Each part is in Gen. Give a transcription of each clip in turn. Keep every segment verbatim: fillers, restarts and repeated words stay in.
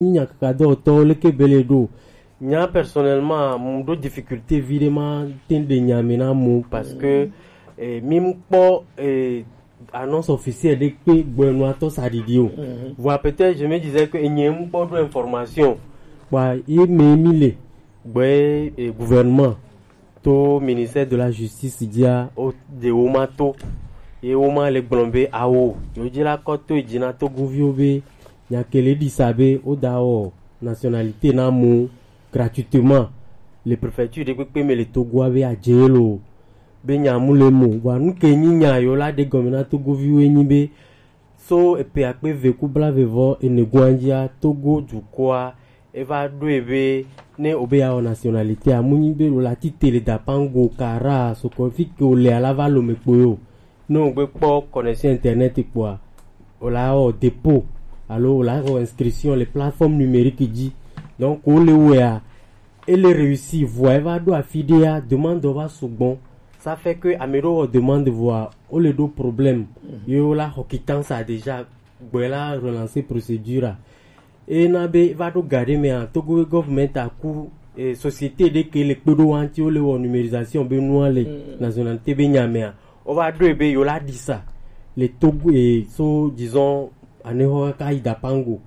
Nya kaka dɔwɔtɔwo leke be le ɖo. Nya personnellement, mu ɖo difficulté vi ɖe ma te ɖe nya me na mu parce que eh, mi mu kpɔ eh, annonce officielle ɖe kpe gbɔnua tɔ sa ɖiɖi o. Voilà, peut-être je me disais que enye mu kpɔ ɖo information. Wa ye me mi le gbɛ eh, gouvernement to ministère de la justice dzia o de wo ma to ye wo ma le gblɔm be awo yo dzi la kɔ to dzi na togoviwo be nya kele ɖi sa be wo da wɔ nationalité na mo gratuitement le préfecture ɖe kpekpe me le togoa be adze lo be nya mu le mo wa nu ke nyi nya yo la ɖe gɔme na togoviwo nyi be so epe akpe eve ku blavevɔ ene goa dzia togo dukɔa eva ɖoe be ne obe ya wɔ nationalité a mu nyi be wòle ati tele dapango kara sokɔ fi ke wòle alava lome kpo yo ne wògbe kpɔ connexion internet kpoa wòle awɔ dépôt alo wòle awɔ inscription le plateforme numérique dzi donc wòle wɔea ele réussi vɔa eva ɖo afi ɖea demande va sugbɔ ça fait que ame ɖewo wɔ demande vɔa wole ɖo problème ye wola xɔ quittance a déjà gbɔe la relancer procédure a eye na be va ɖo ga ɖe mea togo government aku eh, société ɖe ke le kpe ɖo wa ŋuti wole wɔ numérisation be nua le nationalité be nya mea wova ɖoe be yewola ɖi sa le togo eh, so disons anexɔ kaka yi dapango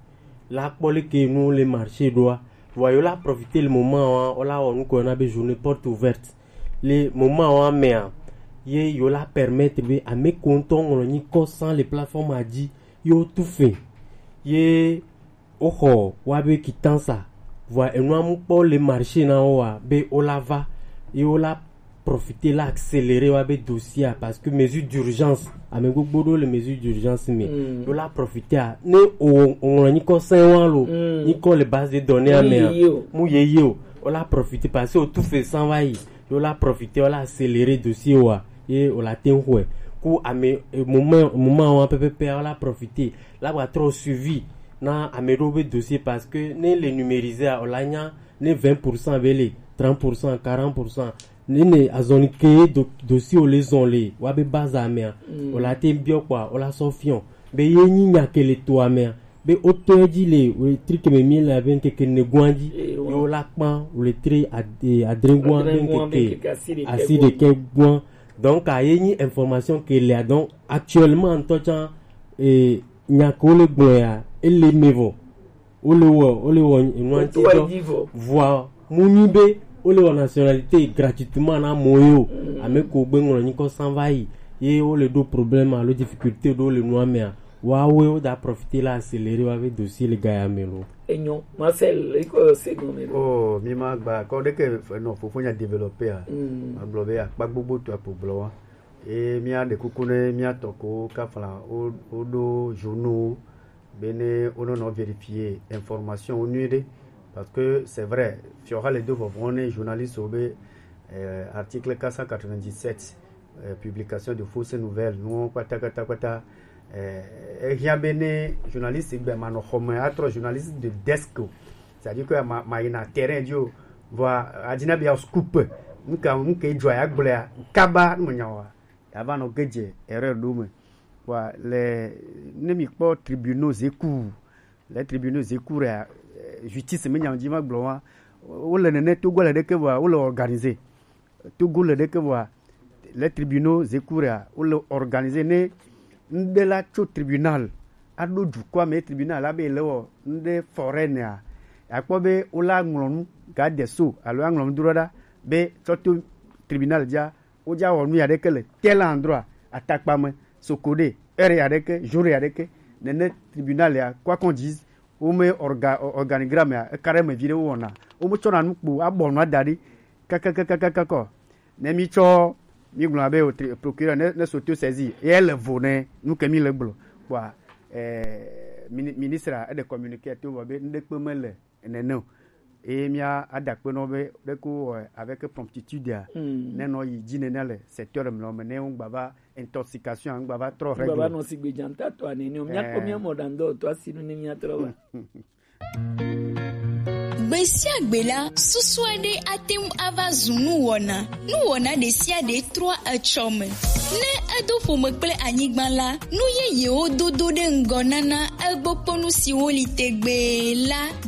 la kpɔ leke nu le marché ɖoa vɔa yewola profiter le moment wa wola wɔ nu ko yɔna be journée porte ouverte le moment wa mea ye yewola permettre be ame ko ŋutɔ ŋlɔ nyi kɔ sans le plateforme a dzi ye wotu fe ye woxɔ woabe quittance a vɔa enua mu kpɔ le marché na wo wa be wola va ye wola profiter la accélérer woabe dossier a parce que mesure d'urgence ame gbogbo ɖewo le mesure d'urgence me mm. Wola profiter a ne o ŋlɔ nyi kɔ sɛn wa lo mm. Nyi kɔ le base de données a me a mu ye ye o wola profiter parce que o tu fe san va yi wola profiter wola accélérer dossier wa ye wola te ŋu xɔe ku ame moment moment wa pɛpɛpɛ wola profiter la gba trɔ suivi na ame ɖewo be dossier parce que ne le numériser a wola nya ne vingt pour cent be le trente pour cent quarante pour cent ne ne azɔli ke do, dossier wo le zɔn le wa be base amea mm. Wola te biɔ kpɔa wola sɔ fiɔ be ye nyi nya ke le to amea be wotɔe dzi le wletri ke me mi le abe ŋkeke ne gua dzi ye wola kpa wletri adre gua be ŋkeke asi ɖekɛ gua donc a ye nyi information ke lea donc actuellement ŋutɔ tsã eh, nya ke wole gblɔ ya ele me vɔ wole wɔ wole wɔ enua ŋuti dɔ vɔa mu nyi be wole wɔ nationalité gratuitement na mo ye o ame ko gbe ŋlɔ nyi kɔ san va yi ye wole ɖo problème alo difficulté ɖo le nua mea woawoe woda profiter la accélérer woabe dossier le gaya me lo. Enyo Marcel iko se gɔme lo. Oh mi ma gba kɔ ɖeke nɔ fofo nya développer a mm. Magblɔ be akpa gbogbo to akpo gblɔ wa e mía ɖe kuku ne mía tɔ ko kafla wo wo ɖo journaux be ne wo nɔ vérifier information wo nyuie ɖe parce que c'est vrai fiɔha le do vɔvɔ ne journaliste wo be eh, article quatre cent quatre-vingt-dix-sept eh, publication de fausses nouvelles nuwo kpata kpata kpata eh, ehiã be ne journaliste gbe ma nɔ xɔme atrɔ journaliste de desk o c'est-à-dire que ma ma yina terrain dzi o vɔa adina be ya scoop nuka nuka edzɔa ya gblɔa kaba ne me nya wa ya va nɔ ge dze erreur ɖo me vɔa le ne mi kpɔ tribunaux zeku le tribunaux zeku ya justice me nya dzi ma gblɔ wa wo le nene togo le ɖeke vɔa wo le organiser Togo le ɖeke vɔa le tribunaux zeku ya wo le organiser ne ŋɖe la tso tribunal aɖo dukɔa me tribunal abe le wɔ ŋɖe foraine a akpɔ be wo la ŋlɔ nu ga de so alo aŋlɔ nu do ɖa be tsɔ to tribunal dza wo dza wɔ nu ya ɖeke le tel endroit atakpa me sokode heure ya ɖeke jour ya ɖeke nene tribunal ya quoi qu'on dise wo me orga organigramme ya eka ɖe me vi ɖe wo wɔna wo me tsɔna nu kpo abɔ nu ada ɖi kakakakakakɔ ne mi tsɔ mi gblɔ abe o tri- procureur ne ne soto saisi ye le vo ne nu ke mi le gblɔ kpɔa eh, mini- ministre a eɖe communiqué to vɔ be nuɖekpe mele nene o eye mia adakpe nɔ be ɖeko wɔ avec promptitude a ne nɔ yi dzi nene le secteur mlɔ me ne ŋgba va intoxication ŋgba va trɔ baba règle nɔ sigbe dzanta tɔ anene o miakpɔ Eh. Mia mɔ ɖandɔ tɔ asinu ne miatrɔ va Gbe sia gbe la, susu aɖe ate ŋu ava zu nuwɔna. Nuwɔna ɖe sia ɖe trɔa etsɔ me. Ne edo ƒome kple anyigba la, nu yeyewo dodo ɖe ŋgɔ nana egbɔkpɔnu siwo li tegbee la